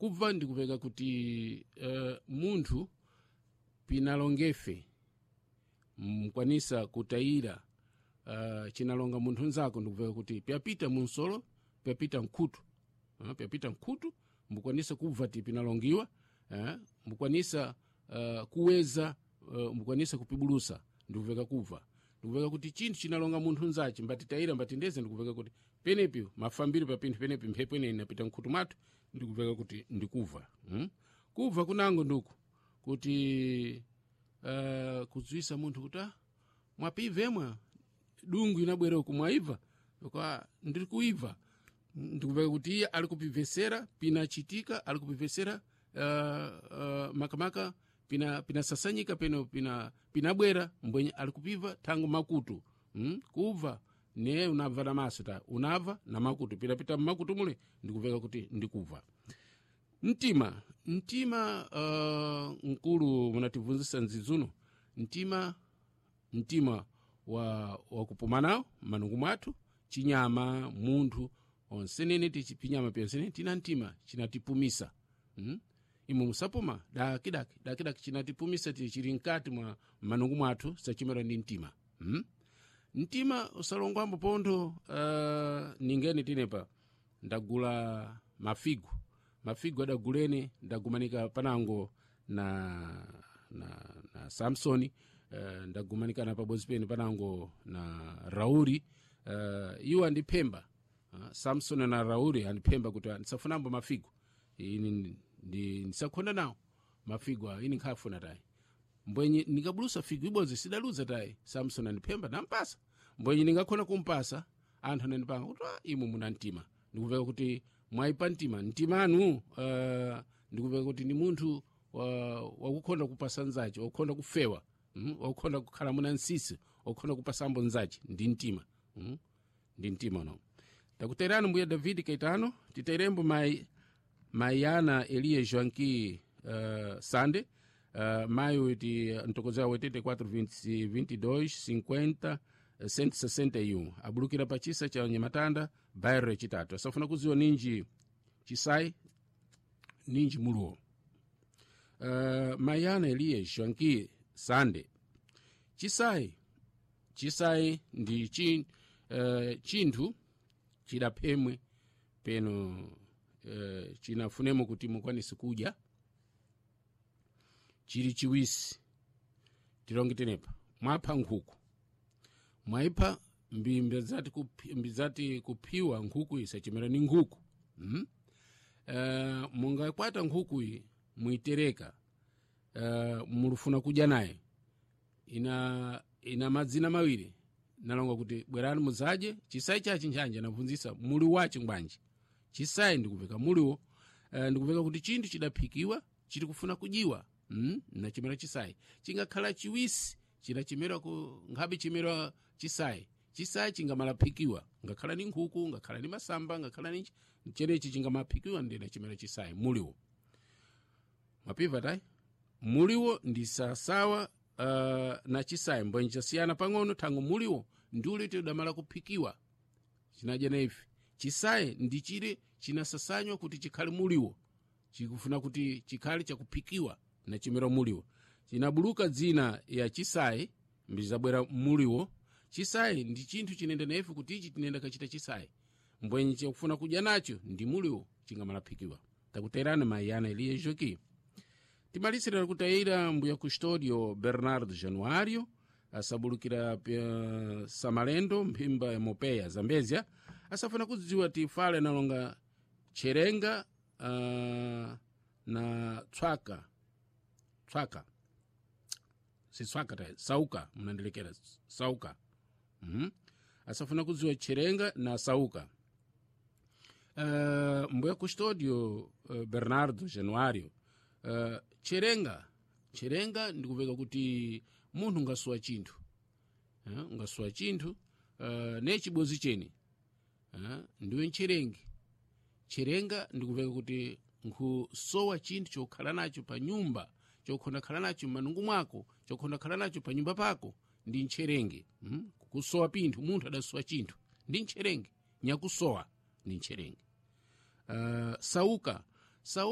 Kubva ndikupeka kuti munthu pinalongefe mkwanisa kutayira chinalonga munthu nzako, ndikupeka kuti pyapita munsolo, pyapita mkhutu, pyapita mkhutu, mbukwanisa kubva ti pinalongiwa, mbukwanisa kuweza, mbukwanisa kupibulusa, ndikupeka kubva. Ndikupeka kuti chinthu chinalonga munthu nzace mbatitayira, mbatindeze, ndikupeka kuti penepi mafambiro pa pinthu penepi mphepo ineyi inapita mkhutu mwathu, ndikupeka kuti ndikubva. Kubva kunango nduku kuti kudziwisa munthu kuti mwapivemwa dungu inabwera uku, mwaibva kwa ndiri kuibva, ndikupeka kuti iye ali kupibvesera pinachitika, ali kupibvesera makamaka pinasasanyika peno pinabwera mbwenye ali kupibva thango makutu. Kubva ne unabva na maso ta unabva na makutu, pinapita mmakutu mule, ndikupeka kuti ndikubva. Mtima mkulu munatibvunzisa nzidzuno mtima wa kupumanawo manungu mwathu, chinyama, munthu onsenene tichipinyama pyonsenene tina mtima chinatipumisa. Imwe musapuma dakidaki dakidaki, chinatipumisa chili mkati mwa manungu mwathu, sachimera ndi mtima. Mtima usalongwambo pontho. Ningeni tinepa ndagula mafigu, mafigu adagulene, ndagumanika panango na Samsoni, ndagumanikana pabodzi pene panango na Rauli, iwo andiphemba, Samsoni na Rauli andiphemba kuti ndisafunambo mafigu, ini ndisakhonda nawo mafigu awo, ini nkhafuna tayi. Mbwenye ndingabulusa figu ibodzi sidaluza tayi. Samsoni andiphemba, nampasa, mbwenye ndingakhona kumpasa. Anthu anandipanga kuti imwe muna mtima, ndikupeka kuti mwayipa mtima, mtima anu ndikupeka kuti ndi munthu wakukhonda kupasa nzace, wakukhonda kufewa, wakukhonda kukhala muna nsisi, wakukhonda kupasambo nzace, ndi mtima. Ndi mtima uno. Takuterani mbuya David Kaitano, titerembo mai Maiana Eliya Joanqui Sande, maio uti ntokozera 84 22 50 161, abulukira pa chisa cha Nyamatanda, bairro yachitatu. Asafuna kuziwa ninji chisai ninji muluwo. Mayana Eliya Joanqui Sande, chisai ndi chinthu chidaphemwe peno chinafunemo kuti mukwanise kudya chili chiwisi. Tilonge tenepa mwapha nkhuku, mwayipha mbidzati kuphiwa nkhuku isachimera ni nkhuku. Mungakwata nkhuku iyi muitereka, mulufuna kudya naye, ina madzina mawiri nalonga kuti bwerani mudzaje chisayi chachi nchanje, nabvunzisa muli wachi ngwanji chisayi, ndikupeka muliwo. Ndikupeka kuti chinthu chidaphikiwa chili kufuna kujiwa, nachimera chisayi chingakhala chiwisi, chinachimera ku nkhabe chimera chisayi. Chisayi chingamalaphikiwa ngakhala ni nkhuku, ngakhala ni masamba, ngakhala ni chenechi chingamaphikiwa, ndina chimera chisayi muliwo. Mwapiva tayi muliwo ndi sasawa na chisayi, mbwenje chasiyana pang'ono thango muliwo ndiule tidamala kuphikiwa chinadya na ife. Chisayi ndi chile chinasasanywa kuti chikhale muliwo, chikufuna kuti chikhale chakuphikiwa na chimera muliwo. Chinabuluka dzina ya chisayi mbizabwera muliwo. Chisayi ndi chinthu chinenda na ife kuti ichi tinenda kachita chisayi, mbwenye chakufuna kudya nacho ndi muliwo chingamalaphikiwa. Takuterani maiyana Eliya Joki. Timalisirira kutayira mbuya Custodio Bernardo Januario, asabulukira Samalendo, mphimba ya Mopeya, Zambezia. Asafuna kudziwa tifale nalonga cherenga na tswaka, tswaka sitswaka ta sauka, mnandilikira sauka. Asafuna kudziwa cherenga na sauka. Mbuya Custodio Bernardo Januario, cherenga ndikupeka kuti munthu ungasuwa chinthu, ungasuwa chinthu ne chibozi chene, ndiwe ncherengi. Cherenga ndikupeka kuti nkusowa chinthu chokhala nacho pa nyumba, chokhonda khala nacho m'manungu mwako, chokhonda khala nacho pa nyumba pako, ndi ntcherenge. Kusowa pinthu, munthu adasowa chinthu ndi ntcherenge, nyakusowa ndi ntcherenge. Sauka.